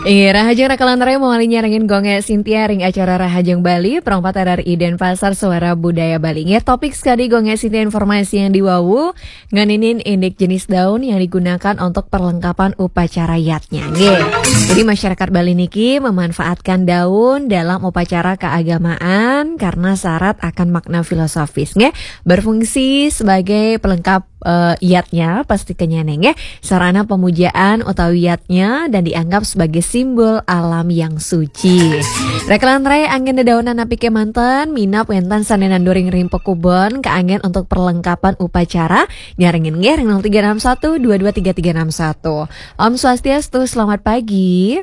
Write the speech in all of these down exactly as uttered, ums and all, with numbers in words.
Iya, rahajeng raka lan rai mawali nyarengin Gung Gé Sintia ring acara Rahajeng Bali, Pro empat R R I Denpasar, Suara Budaya Bali. Nggih, topik sekali Gung Gé Sintia informasi yang diwawu, ngeninin indik jenis daun yang digunakan untuk perlengkapan upacara yadnya. Nggih. Jadi masyarakat Bali niki memanfaatkan daun dalam upacara keagamaan karena syarat akan makna filosofis. Nggih, berfungsi sebagai pelengkap eh, yadnya, pasti kenyane nggih, sarana pemujaan utawi yadnya dan dianggap sebagai simbol alam yang suci. Raka lan rai anggen dedaunan napi kemanten, minab wénten sané nanduring ring pakubon, kaanggen untuk perlengkapan upacara, nyarengin nggih ring nol tiga enam satu dua dua tiga tiga enam satu. Om Swastiastu, selamat pagi.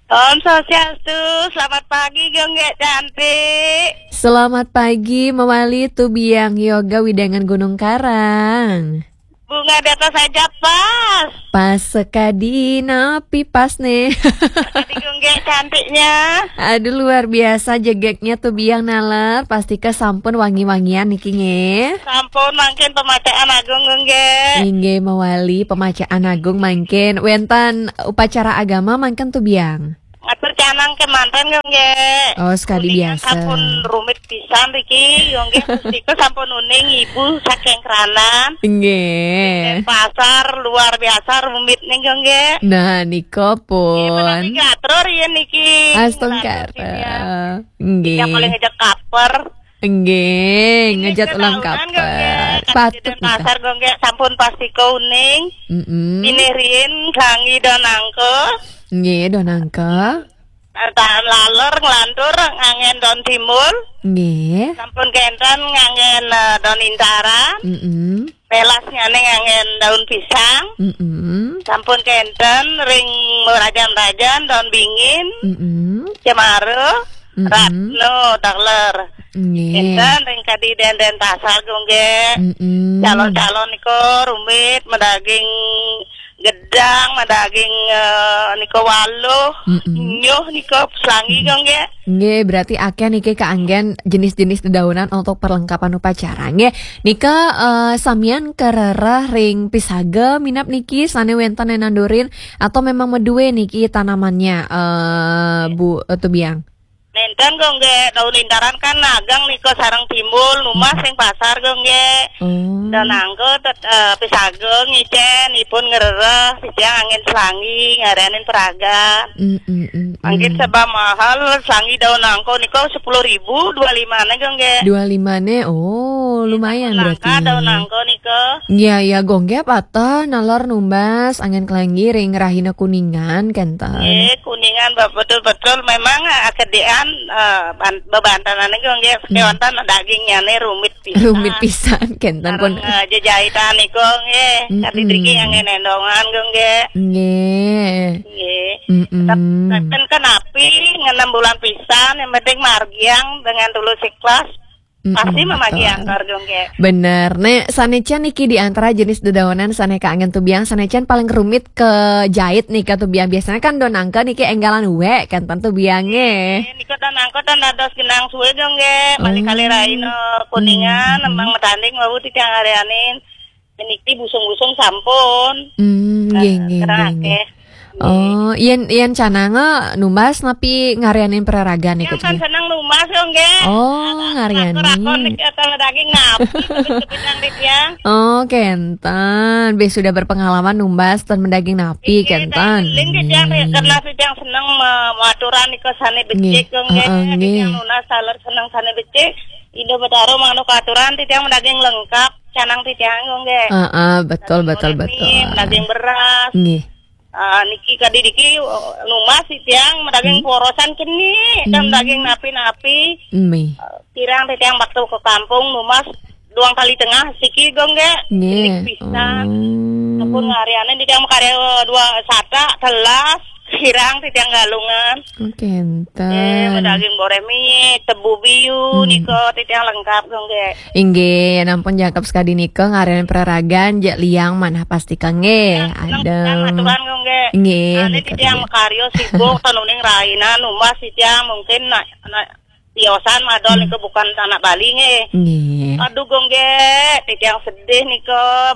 Om Swastiastu, selamat pagi Gung Gé cantik. Selamat pagi, mawali Tubiang Yoga wewidangan Gunung Karang. Bunga di atas aja pas. Pas sekadi napi pas nih. Jadi Gung Gé cantiknya. Aduh, luar biasa jegegnya Tubiang naler, pastika sampun wangi-wangian niki nggih. Sampun mangkin pemacaan agung Gung Gé. Inggih, mawali pemacaan agung mangkin. Wénten upacara agama mangkin Tubiang. Ngatur canang kemanten Gung Gé. Oh, sekadi Kuningan biasa. Sampun rumit pisan riki Gung Gé. Pustika sampun uning ibu saking Kranan. Nggih. Pasar luar biasa rumit nih Gung Gé. Nah, nika pun. Menawi ngatur ya niki. Astungkara. Ngatur sini ya. Nggih. Yang paling ngejek kaper. Nggih, ngejat ulam kaper. Patut nika. Pasar Gung Gé sampun pasti kuning. Mm-mm. Ini riin kangge daun nangka. Nggih, daun nangka. Tahan laler nglantur nganggen daun timbul. Nggih. Sampun kenten nganggen, eh, daun intaran. Mm-mm. Pelasnya ning nganggen daun pisang. Mm-mm. Sampun kenten ring merajan-rajan daun bingin. Mm-mm. Cemara. Mm-mm. Ratno taler. Nggih. Kenten ring kadi Denpasar Gung Gé. Mm-mm. Calon-calon nika rumit, madaging gedang, madaging, eh, nika waluh, mm-mm, nyuh nika selangi Gung Gé. Nggih, berarti akeh niki kaanggen jenis-jenis dedaunan untuk perlengkapan upacara. Nggih, nika, eh, samian karereh ring pisaga minab niki sané wénten nandurin atau memang madué niki tanamannya, eh, Bu, eh, Tubiang? Nénten Gung Gé, daun intaran kan ageng nika sareng timbul, numbas ring pasar Gung Gé. Oh. Daun nangka tet-, eh, pisaga ngicén, ipun ngrereh, titiang anggen selangi, ngarianin peragan. Mm, mm, mm, mm. Mangkin sebab mahal, selangi daun nangka nika sepuluh ribu, dua lima né Gung Gé. Dua lima né, oh, lumayan berarti. Langka daun nangka nika. Iya, iya, Gung Gé pateh naler numbas anggen kelangi ring rahina Kuningan, kenten. Nggih, Kuningan, ba-, betul-betul memang, eh, kedéan, eh, ban-, bebantenane Gung Gé, hmm, kewanten dagingnyané rumit pisan. Rumit pisan, kenten pun. Sareng, eh, jejahitan niku nggih, mm-mm, kadi driki yang ngendongan Gung Gé. Nggih. Nggih. Mm-mm. Tep-, tep-, kenapi ngenem bulan pisan, yang penting margiang dengan tulus ikhlas. Mm-mm, pasti mamagi betul. Antar Gung Gé. Bener. Né, sané can niki di antara jenis dedaunan sané kaanggen Tubiang, sané can paling rumit kejait nika Tubiang. Biasanya kan daun nangka niki énggalan wé, kenten Tubiang nggih. Nggih, nika daun nangka tan dados genang suwé Gung Gé. Bali kali, oh, raina Kuningan, mm-mm, nembang matanding wau titiang ngarianin. Niki busung-busung sampun. Hmm, nggih, eh, nggih, nggih, nggih. Akeh. Oh, yén, yén cananga numbas napi ngarianin peraragan niku? Yang kan seneng numbas yo, nggih. Oh, ngarianin. Lakon-lakon niki atau daging napi, tapi sepinang di tiang. Oh, kenten. Bé sudah berpengalaman numbas ten mendaging napi, nggih, kenten. Nggih, titiang, hmm, karena titiang seneng me-, maturan niku sané becik, nggih. Heeh, nggih. Titiang nunas taler seneng sané becik. Indo Betara manuk aturan titiang mendaging lengkap. Canang titiang, nggih. Heeh, betul, betul, betul. Daging beras. Nggih. Ah, niki kadi niki, eh, numbas titiang, daging, hmm, porosan keni, dan, hmm, daging napi-napi. Nggih. Eh, kirang titiang waktu ke kampung, numbas duang kali tengah, siki, nggih. Nggih. Pisan. Oh. Sampun ngarianin titiang makarya dua sata, telas, kirang titiang galungan. Oh, kenten. Eh, daging boreh mie, tebu biu, hmm, nika titiang lengkap, nggih. Inggih, nampun jangkep sekadi nika ngarianin peraragan, jak liang manah pastika nggih. Seneng, adem. Seneng aturan, nggih. Nggih, nika titiang makarya sibuk, ten uning raina, numbas titiang mungkin nak, nak tiosan madol, hmm, nika bukan anak Bali, nggih. Nggih. Aduh, Gung Gek, titiang sedih nika.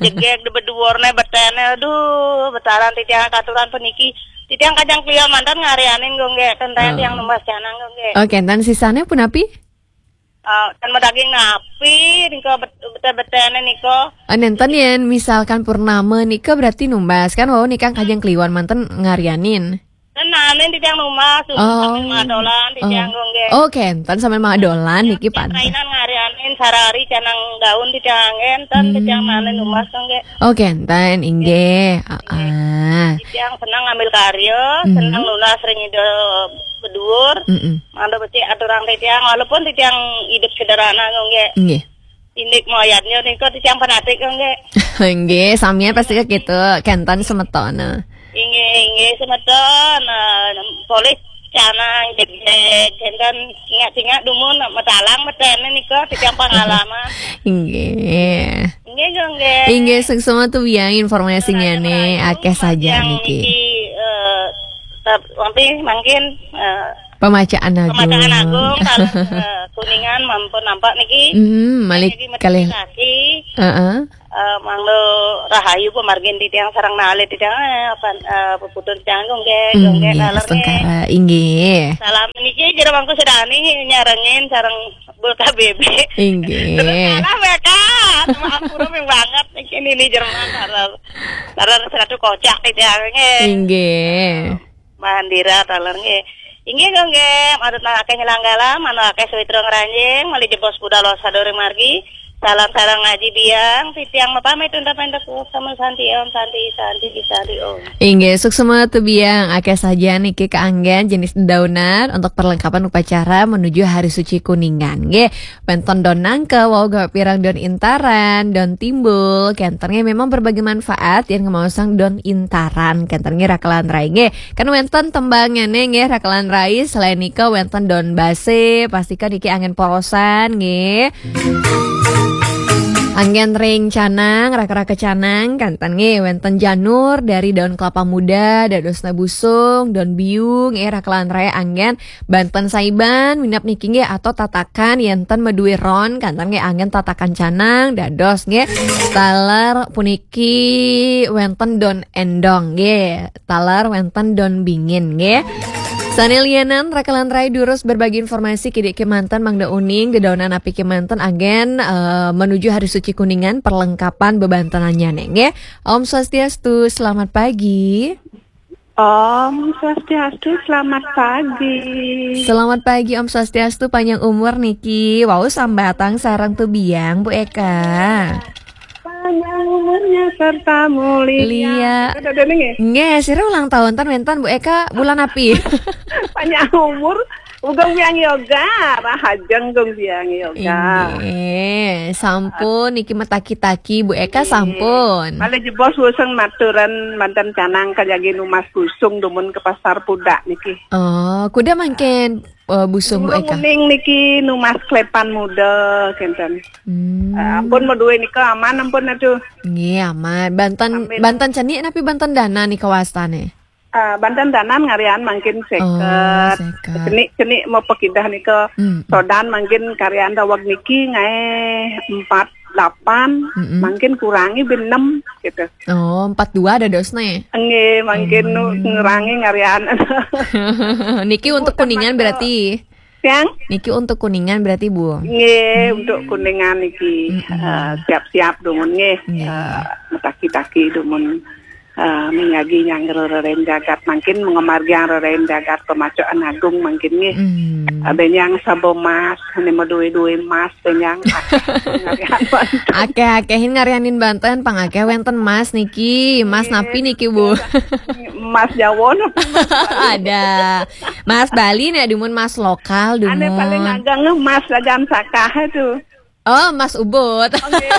Jegeg di beduurne betene, aduh, betaran titiang katuran puniki. Titiang kajeng kliwat manten ngarianin, Gung Gek, ten taen Oh. tiang numbas canang, Gung Gek. Oke, ten sisane punapi? Eh, ten madaging napi nika bet-, bete-betene nika. Oh, nenten yen misalkan purnama nika berarti numbas kan, wau nika kajeng kliwat manten ngarianin. Ten naenin titiang numbas, Oh. sambil madolan titiang, Oh. Gung Gek. Oke, ten sambil madolan niki Titiang pan. Rainan ngarianin sarari canang daun titiang anggen, ten Hmm. titiang naenin numbas, Gung Gek. Oke, ten inggih. Ah. Titiang senang ngambil karya, Mhm. senang nunas ring Ida beduur. Mm-mm. Mangda becik aturang titiang, walaupun titiang hidup sederhana, Gung Gek. Nggih. Indik moyatnya nika titiang fanatik, Gung Gek. Nggih, samian pasti ke gitu, kenten semetona. Inggih, inggih, semeton, eh, polih canang jegeg, kenten ingat-ingat dumun metalang metene nika titiang pengalaman. Inggih. Inggih, Gung Gek. Inggih, suksma tubiang informasinya Raja nih, Melayu, akeh saja yang niki. Niki, eh, tep-, tapi mungkin, eh, Pemacaan Agung. Pemacaan Agung, kalau, eh, Kuningan mampun nampak niki. Hmm, malik Jadi kalih. Kaki. Heeh. Eh, mangda rahayu pamargin titiang sareng nalih titiang, eh, apa, eh, puputun titiang, Gung Gek, Gung Gek, Nggih, taler, nggih. Astungkara, inggih. Salam niki jero mangku sedani nyarengin sareng Bul K B B. Inggih. Terus salam ya, Kak. Sama ampura ping banget niki nini Jerman taler. Taler seratu kocak titiang nggih. Inggih. Mahandira taler nggih. Inggih, Gung Gek, manut nang akeh nyelanggala, manut akeh sawitra ngranjing, malih jebos budal sadore margi. Salam sareng ngaji biang, titiang mapamit untapan teku, sama santi om, santi, santi, santi om. Inggih, suksma tubiang, akeh saja niki kaanggen jenis dedaunan untuk perlengkapan upacara menuju Hari Suci Kuningan. Nggih, wenten don nangka, wau gawé pirang don intaran, don timbul, kenten nggih memang berbagai manfaat yang ngemaosang don intaran, kenten nggih rakelan rai nggih. Kan wenten tembangane nggih rakelan rai, selain nika wenten don base, pastikan niki anggen porosan nggih. Anggen ring canang, raka-raka canang, kenten nggih wenten janur dari daun kelapa muda, dadosna busung, don biu nggih rakelan rai anggen banten saiban, minab niki nggih atau tatakan yenten madue ron, kenten nggih anggen tatakan canang, dados nggih taler puniki wenten don endong nggih. Taler wenten don bingin nggih. Sane lianan rakelan rai durus berbagi informasi kidik kemanten mangda uning dedaunan api kemanten agen, eh, menuju Hari Suci Kuningan perlengkapan bebantenannya nggih. Om Swastiastu, selamat pagi. Om Swastiastu, selamat pagi. Selamat pagi, Om Swastiastu, panjang umur niki. Wau sambatang sareng tubiang, Bu Eka. Panjang umurnya serta mulia. Lia. Ada, ada nih. Nggih, sira ulang tahun ten wenten Bu Eka bulan api? Panjang umur, uga biang yoga, rahajeng gung biang yoga. Nggih, sampun niki metaki-taki Bu Eka sampun. Malih jebos wuseng maturan manten canang kajagi numas busung dumun ke pasar pudak niki. Oh, kuda mangkin eh, busung Bu Eka. Kuning niki numas klepan muda kenten. Hmm. Eh, ampun madue nika aman ampun aduh. Nggih, aman. Banten, Amin. Banten cenik napi banten dana nika wastane? Eh, banten danan ngarian mangkin seket. Oh, seket. Cenik-cenik mau pekidah nika Hmm. sodan mangkin karian daweg niki ngae empat delapan, Mm-mm. mangkin kurangi ben enam gitu. Oh, empat dua dadosne. Nggih, mangkin nu Hmm. ngurangi ngarian. Niki untuk Kuningan berarti? Yang? Niki untuk Kuningan berarti, Bu? Nggih, untuk Kuningan niki, Mm-mm. eh, siap-siap dumun nggih. Nggih. Eh, metaki-taki dumun, eh, mengagi nyangger rerem jagat mangkin mengemargiang rerem jagat pemacoan agung mangkin nggih. Hmm. Eh, benyang sabo mas, ne madue-due mas, benyang. Akeh-akehin ngarianin banten, pang akeh wenten mas niki. Mas Nggih. Napi niki, Bu? Mas Jawa napi mas Bali? Ada. Mas Bali nek dumun mas lokal dumun. Ane paling ageng mas Rajan Sakah itu. Oh, Mas Ubud. Oke.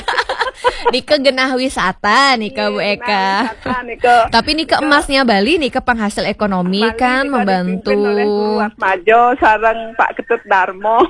Nika genah wisata nika, Bu Eka. Genah wisata nika. Tapi nika emasnya Bali nika penghasil ekonomi Bali kan nika membantu. Dipimpin oleh Guru Atmajo sareng Pak Ketut Darmo.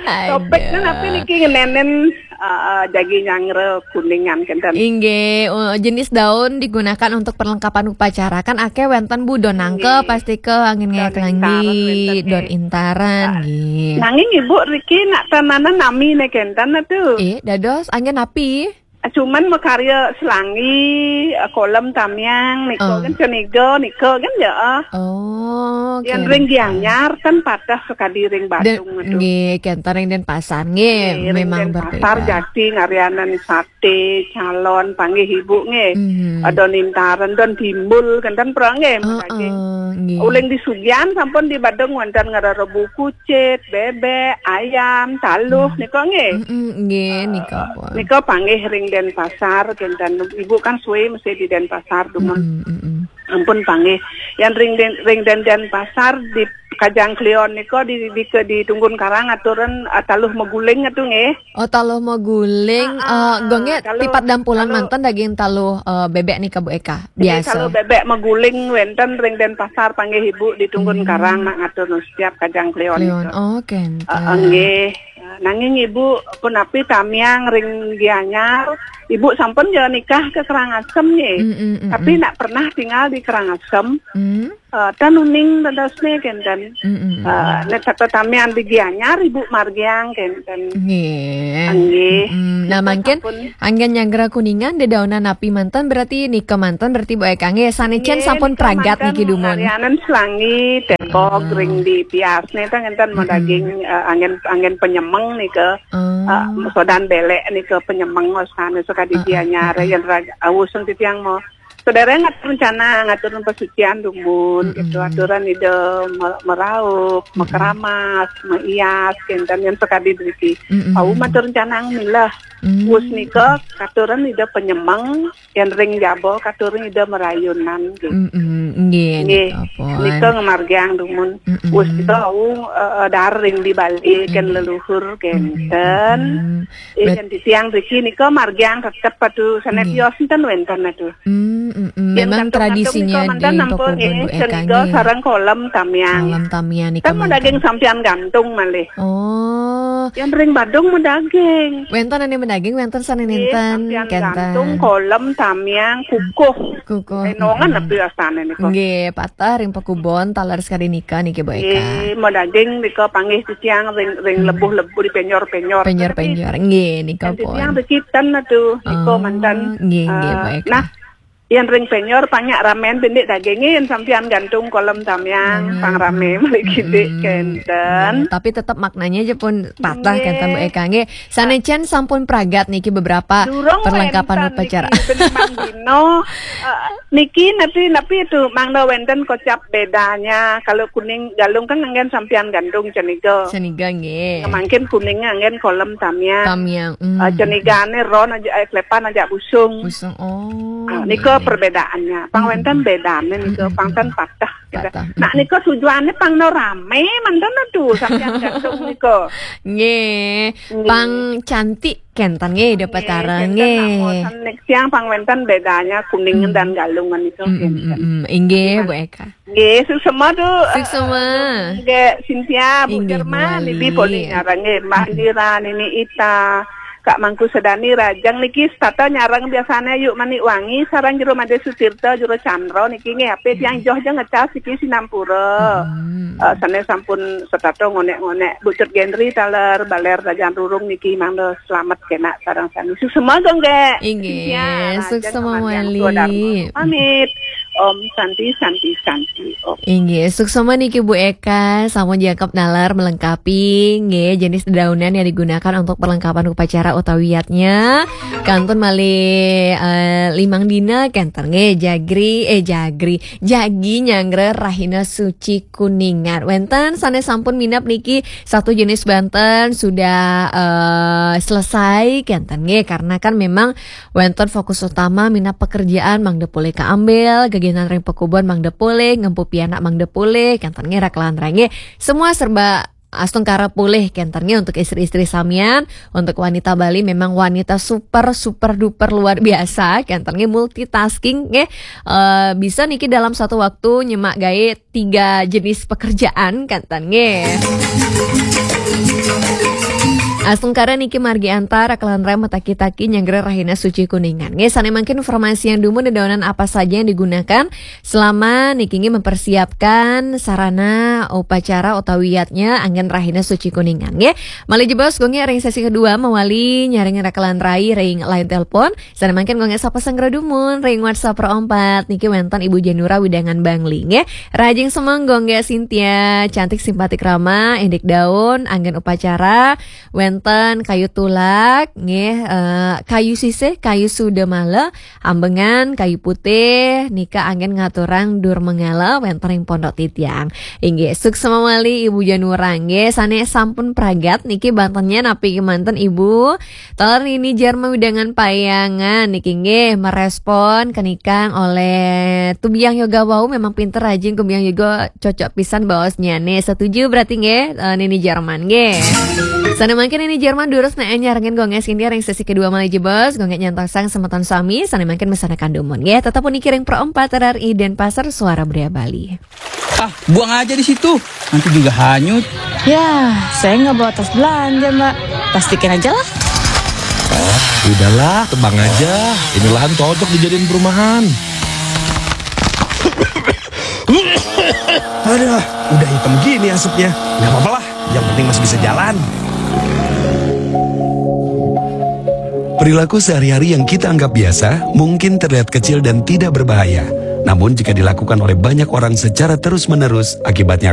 Topik kan apa niki ngenenen, eh, jagi nyangre Kuningan kenten. Inggih, eh, jenis daun digunakan untuk perlengkapan upacara. Kan akeh wenten Bu, don nangke, nggih, pasti ke angin, don ngayak langgi, intaran wenten, don nggih, intaran, ah, nggih. Nanging Ibu riki nak tananan nami ne kenten atu. Eh, dados angin api? Ah, cuman makarya selangi, ah, kolem tamiang, nika, ah, kan ceniga, nika kan ya, ah. Oh, yen oke, ring, oke, Gianyar kan patah sekadi ring Badung atu. Nggih, kenten ring Denpasar, nggih, nggih, ring memang Denpasar berbeda. Jati ngaryanan sate, calon, panggih Ibu, nggih. Hmm. Ada nintaran, don timbul, kenten pra, nggih, heeh, madaging. Nggih. Uling di Sugian sampun di Badung wenten ngarara buku, cit, bebek, ayam, taluh, hmm, nika nggih. Mm-mm, nggih, eh, nika pun. Nika panggih ring Denpasar, kenten Ibu kan suwe mesti di Denpasar, dumun. Mm-mm, mm-mm. Ampun panggih. Yang ring Den-, ring Den-, Denpasar di Kajang Kliwon nika di, di, ke, di Tunggun Karang aturan, eh, taluh maguling atu nggih. Oh, taluh maguling, ah, eh, ah, gongnya taluh, tipat dampulan taluh manten daging taluh, eh, bebek nika Bu Eka. Nggih, biasa. Taluh bebek maguling wenten ring Denpasar panggih Ibu di Tunggun, hmm, Karang nak ngatur setiap Kajang Kliwon. Kliwon nika. Oh, kenten. Eh, eh, nggih. Nanging Ibu punapi tamiang ring Gianyar, Ibu sampun ya nikah ke Karangasem nggih. Mm, mm, mm, tapi mm, nak pernah tinggal di Karangasem. Mm. Eh, tan uning dadosne kenten. Mm, mm, mm, eh, mm. Nek tata tamiang di Gianyar Ibu margiang kenten. Nggih. Nggih. Mm, mm. Nah, mangkin sampun. Anggen nyanggra Kuningan dedaunan api manten berarti nika manten berarti Bu Eka nggih. Sane cen, nggih, sampun nika pragat manten niki dumun. Ngaryanan selangi, tembok, ah, ring di piasne ta ngenten, mm-mm, madaging, eh, anggen, anggen penyemeng nika. Ah. Eh, sodan belek nika penyemeng osane saka di, ah, ah, Gianyar, ah, ah, yen raga awus titiang mo. Saudara ngatur rencana, ngatur pesucian dumun, mm-mm, gitu. Aturan ida me-, meraup, mm-mm, mekeramas, meias, kenten yen sekadi driki. Mm-mm. Au matur rencana milah. Mm. Wus nika katuran ida penyemeng, yen ring jaba katuran ida merayunan, gitu. Mm-mm, nggih, nggih, nika pun. Nika ngamargiang dumun. Mm-mm. Wus nika au, eh, eh, dar ring di Bali, ken, nggih, leluhur, kenten. Mm-mm, mm-mm. Eh, berat. Yen titiang driki nika margiang tetep atu sane, nggih, tios enten wenten atu. Mm, mm, mm. Yen memang gantung-gantung tradisinya nika manten di ampun, Pakuwon, nggih, Bu Eka, ceniga nggih, sareng kolem tamiang. Kolem tamiang nika kan manten. Daging sampian gantung malih. Oh. Yen ring Badung madaging. Wenten ane madaging, wenten sane, nggih, nenten, sampian kenten. Gantung, kolem, tamiang, kukuh. Kukuh. Enongan, mm-mm, api asane nika. Nggih, patah ring Pakuwon taler sekadi nika niki Bu Eka. Nggih, madaging nika panggih titiang ring, ring, mm, lebuh-lebuh di penyor-penyor. Penyor-penyor. Nggih, nika pun. Titiang di kiten atu, nika, oh, manten. Nggih, nggih, eh, Bu Eka. Nah, yen ring penyor panyak ramen bindik daging, yen sampian gantung kolem tamiang, hmm, pang rame malih kidik, hmm, kenten. Nggih, tapi tetep maknanya aja pun patah, nggih, kenten Bu Eka. Nggih, sane cen sampun pragat niki beberapa, durung, perlengkapan wenten upacara niki, limang dino, eh, niki napi, napi itu mangda wenten kocap bedanya. Kalau kuning galung kan anggen sampian gantung ceniga. Ceniga nggih. Mangkin kuning anggen kolem tamiang. Tamiang, mm. Eh, cenigane ron aja, eh, klepan aja busung. Busung, oh, ah, nika nggih. Perbedaannya. Pang, mm-mm, wenten bedane nika, mm-mm, pang ten patah. Patah. Nah, nika tujuannya pang no rame, manten atu, sampean gantung nika. Nggih. Nggih. Pang cantik kenten nggih, dapat, nggih, tarang kenten nggih. Nak mosen nek siang pang wenten bedanya kuning, mm, dan galungan itu, mm-mm, kenten. Mm-mm. Inggih, Bu Eka. Nggih, suksema tu. Suksema. Nggih, Cynthia, Bu, inggih, Jerman, mawali. Bibi Poli nyarang nggih, Mbak, mm-mm, Indira, Nini Ita, Kak Mangku Sedani, Rajang niki setata nyarang biasane Ayu Manik Wangi, sareng Jero Made Sutirta, Jero Chandra niki nggih, ape tiang, mm-mm, joh jeng ngecas niki sinampura. Mm-mm. Eh, sane sampun setata ngonek-ngonek. Bu Cut Gendri taler, baler Rajan Rurung niki mangda selamet kena sareng sami. Suksema nggih. Inggih, Cynthia, Rajang, suksema Kamariang, wali. Tua Dharma. Pamit. Om Santi, Santi, Santi, Om. Inggih, suksema niki Bu Eka, sampun jangkep nalar melengkapi, nggih, jenis dedaunan yang digunakan untuk perlengkapan upacara utawi wiatnya. Kantun malih, eh, limang dina kenten nggih, jagri, eh, jagri, jagi nyanggra Rahina Suci Kuningan. Wenten sane sampun minab niki satu jenis banten sudah, eh, selesai kenten nggih, karena kan memang wenten fokus utama minab pekerjaan mangda polih kaambil, geginan ring pakubon mangda polih, ngempu pianak mangda polih, kenten nggih, rakelan rengge, semua serba astungkara polih kenten nggih. Untuk istri-istri samian, untuk wanita Bali memang wanita super, super duper luar biasa kenten nggih, multitasking nggih. Eh, bisa niki dalam satu waktu nyemak gawe tiga jenis pekerjaan kenten nggih. Astungkara niki margi antara kalan rai mataki-taki nyanggra rahina suci Kuningan. Nggih, sané mangkin informasi yang dumun dedaonan apa saja yang digunakan selama niki nggih mempersiapkan sarana upacara utawi yadnya anggén rahina suci Kuningan. Nggih, malih jebos Gung ring sesi kedua mawali nyaring rakalan rai ring line telepon. Sané mangkin Gung sapasang dumun ring WhatsApp Pro empat niki wénten Ibu Janura wewidangan Bangli nggih. Rahajeng semeng Gung Sintia, cantik simpatik ramah, indik daun, anggén upacara, wénten kayu tulak nggih, eh, kayu sisih, kayu sudamala, ambengan, kayu putih, nika anggén ngaturang dur manggala, wénten ring pondok titiang. Inggih, suksma malih Ibu Janura nggih, sané sampun pragat niki bantennya napi kemanten Ibu? Taler Nini Jarma wewidangan Payangan niki nggih merespon kenikang oleh Tubiang Yoga wau memang pinter rajin Tubiang Yoga cocok pisan baosnya nih. Setuju berarti nggih, eh, Nini Jarman nggih. Sané mangkin Nini Jarman durus nek nyarengin Gung Sintia ring sesi kedua malih jebos, Gung nyantosang semeton sami, sané mangkin mesanakan dumun nggih. Tetap puniki ring Pro empat R R I Denpasar Suara Budaya Bali. Ah, buang aja di situ. Nanti juga hanyut. Ya, saya nggak bawa tas belanja, Mbak. Plastikin aja lah. Udahlah, tebang aja. Ini lahan cocok dijadiin perumahan. Aduh, udah hitam gini asapnya. Nggak apa-apa lah, yang penting masih bisa jalan. Perilaku sehari-hari yang kita anggap biasa mungkin terlihat kecil dan tidak berbahaya. Namun jika dilakukan oleh banyak orang secara terus-menerus, akibatnya